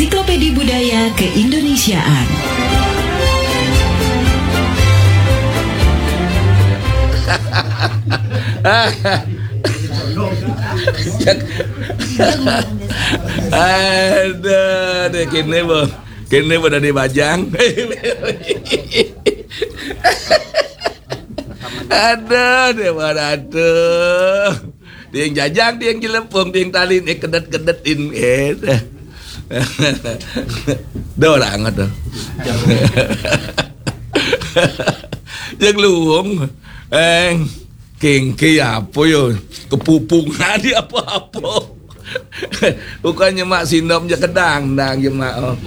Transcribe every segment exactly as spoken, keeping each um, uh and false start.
Ensiklopedi Budaya Keindonesiaan. Aduh, deh, kene bo, kene bo dari bajang. Aduh, deh, aduh. Dia yang jajang, dia yang jelepung, dia yang talin, eh, kedet-kedetin, eh. Dah orang tu. Yang luung, eh, kengke apa yo? Kepupungan dia apa-apa. Bukannya mak sindom je kedang, dang je mak. Oh.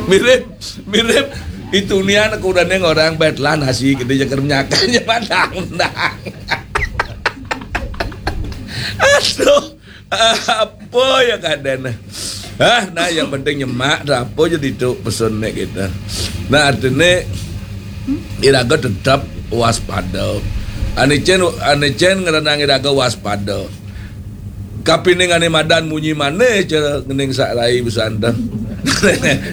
Mirip, mirip. Itu nian aku udah neng orang betlan nasi gede je kerenyakan je padang, dang. Aduh, apa ya kadana? Ah, nah, yang penting nyemak dah apa jadi tu pesan nek kita. Nah, artinya iraga tetap waspada. Ane cen, ane cen ngerenang iraga waspada. Kapining ane madan munyi maneh cara ngening sak rai besanda.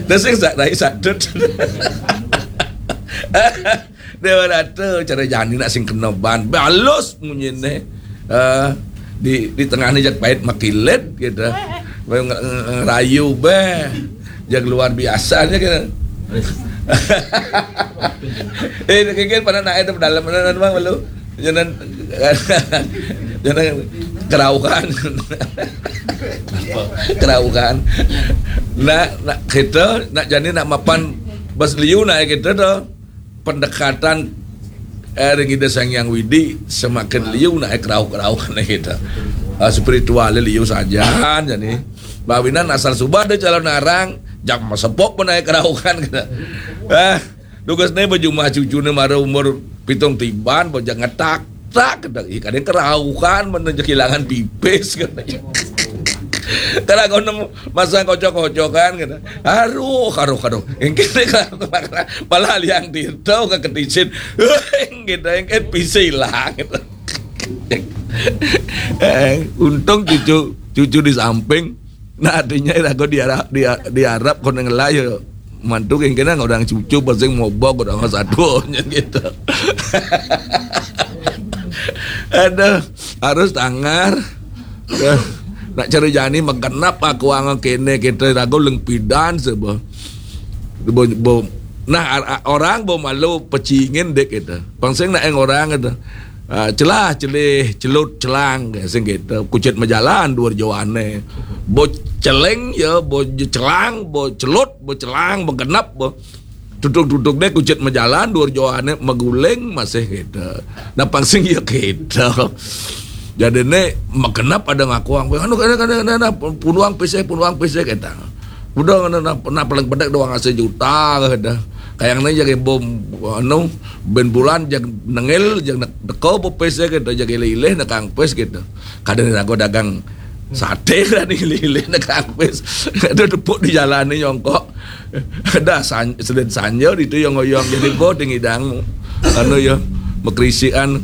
Dah sing sak rai sadut. Dewa Ratu cara jani nak sing kena ban. Balus munyine. Eh, di di tengahnya jak pait makilet gitu. Nge- nge- Ngerayu beh. Jak luar biasanya gitu. Eh, kengken pada nak itu dalam mana bang lu? Jangan jangan keraukan. Keraukan. Nak nak kita nak jani nak mapan bas liu nak kita tu pendekatan eh, ring Ida Sang Hyang Widi semakin liu nak keraukan kita. Ah, spiritual liu saja jadi. Bawinan asal suba ada calon arang jam sepok pun naik keraukan kita. Ah, tugas ni berjumlah cucu ni mara umur pitung tiban bojang ngetak tak kita ih kadang keraukan mana je kehilangan pipis katanya. Kalau kau nemu masang kocok-kocokan gitu. Aduh, aduh, aduh. Engke kalau malah liang tirta ke ketisin. Gitu engke pisi hilang gitu. Eh, untung cucu cucu di samping. Nah, artinya aku diarap di diarap kau ngelai ya. Mantu kengkena orang cucu pasing mobok orang satu gitu. Aduh, harus tangar. Eh, nak cari jani mengkenap aku ang kene kita ragu leng pidan sebo. Bo, bo, nah ar- ar- orang bo malu pecingin dek kita. Pangsing nak yang orang kita. Ah, celah celih celut celang sing kita kucit majalan dua jawane. Bo celeng ya, bo je- celang, bo celut, bo celang, bo genap, bo tutuk-tutuk deh kucit majalan dua jawane maguling masih kita. Nah pangsing ya kita. Jadi ne magenap ada ngakuang anu kada kada kada puluang pise puluang pise kita. Udah na, na, na paling pendek doang asa juta kada. Kayak ne jadi bom anu ben bulan jag nengil jag deko bo pise kita jag ilih-ilih na kang pis kita. Kada ni rago dagang sate lah ni ilih-ilih na kang pis. Ada tepuk di jalan ni nyongkok. Ada san, sedin sanja itu yang ngoyong jadi bo ding idang. Anu ya makrisian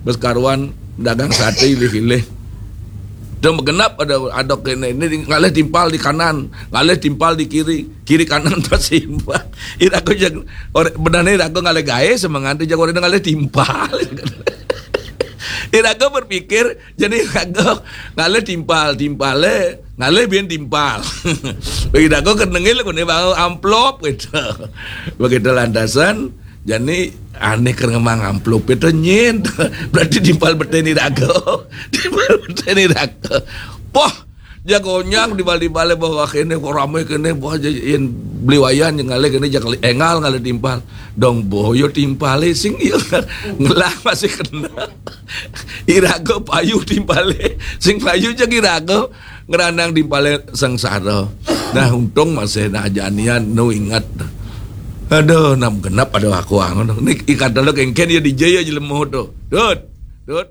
bes karuan dagang sate ilih-ilih. Dah magenap ada ada kene ini ngalih timpal di kanan, ngalih timpal di kiri, kiri kanan tersimbang. Irago yang orang benane irago ngalih gae semangat tu jago orang ngalih timpal. Irago berpikir jadi irago ngalih timpal, timpale ngalih bin timpal. Irago kenengil kone bawa amplop gitu. Begitu lantasan jadi aneh ker ngemang amplop itu nyin. Berarti timpal beteni dago. Timpal beteni dago. Poh, jago nyang di bali bale bahwa kene kok rame kene bahwa yen beli wayan yang ngalih kene jak engal ngalih timpal. Dong boyo timpale sing iya ngelah masih kena. Irago payu timpale sing payu jak irago ngeranang timpale sengsara. Nah untung masih nah janian nu ingat. Aduh, nam genap ada aku angon. Nik ikat dulu kengken ya di jaya jelemo tu. Dut, dut.